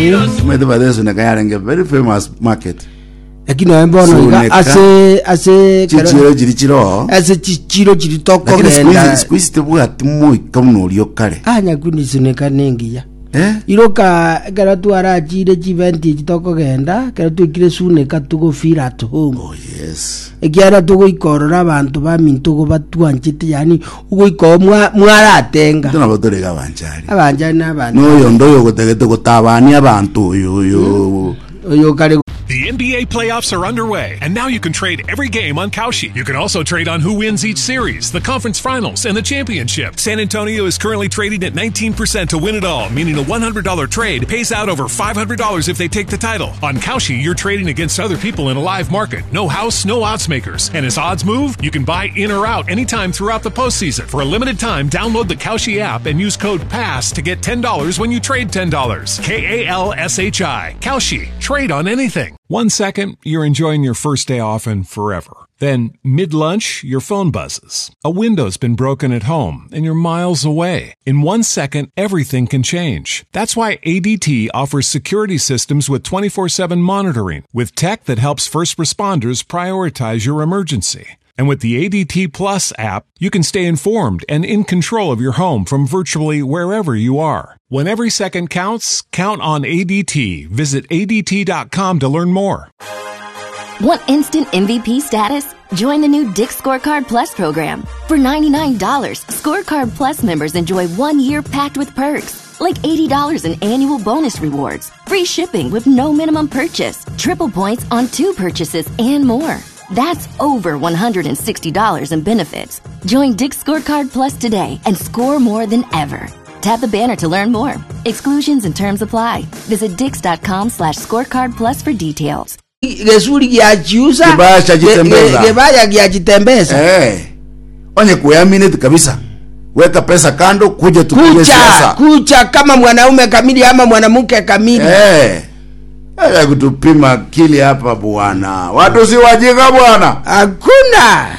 Omanyete by the way, Suneka yarenge very famous market. Lakini noe bono iga Suneka. ase ase kero- Chichiro chiri chiroo. ase chichiro chiri Lakini siku hizi tokogenda siku hizi tebwati moika buna oria okare. anyakuni Suneka nengiya. Eh? Iroka ekero twarachire chiventi echi tokogenda ekero twaikire Suneka togo feel at home. Oh yes. Ekiagera togoika ororo abanto baminto igo batwanchete yaani ogoika oo mwa- mwaratenga. Intwe nabo tore iga abanchari. Abanchari na abanto. Noyondo oyo ogotagete gotabania abanto oyo oyo. Oyo kare The NBA playoffs are underway, and now you can trade every game on Kalshi. You can also trade on who wins each series, the conference finals, and the championship. San Antonio is currently trading at 19% to win it all, meaning a $100 trade pays out over $500 if they take the title. On Kalshi, you're trading against other people in a live market. No house, no odds makers. And as odds move, you can buy in or out anytime throughout the postseason. For a limited time, download the Kalshi app and use code PASS to get $10 when you trade $10. K A L S H I. Kalshi. Trade on anything. One second, you're enjoying your first day off and forever. Then, mid lunch, your phone buzzes. A window's been broken at home and you're miles away. In one second, everything can change. That's why ADT offers security systems with 24 7 monitoring, with tech that helps first responders prioritize your emergency. And with the ADT Plus app, you can stay informed and in control of your home from virtually wherever you are. When every second counts, count on ADT. Visit ADT.com to learn more. Want instant MVP status? Join the new Dick Scorecard Plus program. For $99, Scorecard Plus members enjoy one year packed with perks, like $80 in annual bonus rewards, free shipping with no minimum purchase, triple points on two purchases, and more. That's over $160 in benefits. Join Dick Scorecard Plus today and score more than ever. Tap the banner to learn more. Exclusions and terms apply. Visit dix.com slash scorecard plus for details. Gesuri giachiusa Kibaya chajitembeza. Ge- ge- gebaya giachitembeza Eh. Onye kuyamineti kabisa. Weka pesa kando kuja tupige kucha siasa. kucha kama mwanaume kamili ama mwanamke kamili Eh. Acha kutupima akili hapa bwana. Watu si wajinga bwana. hakuna.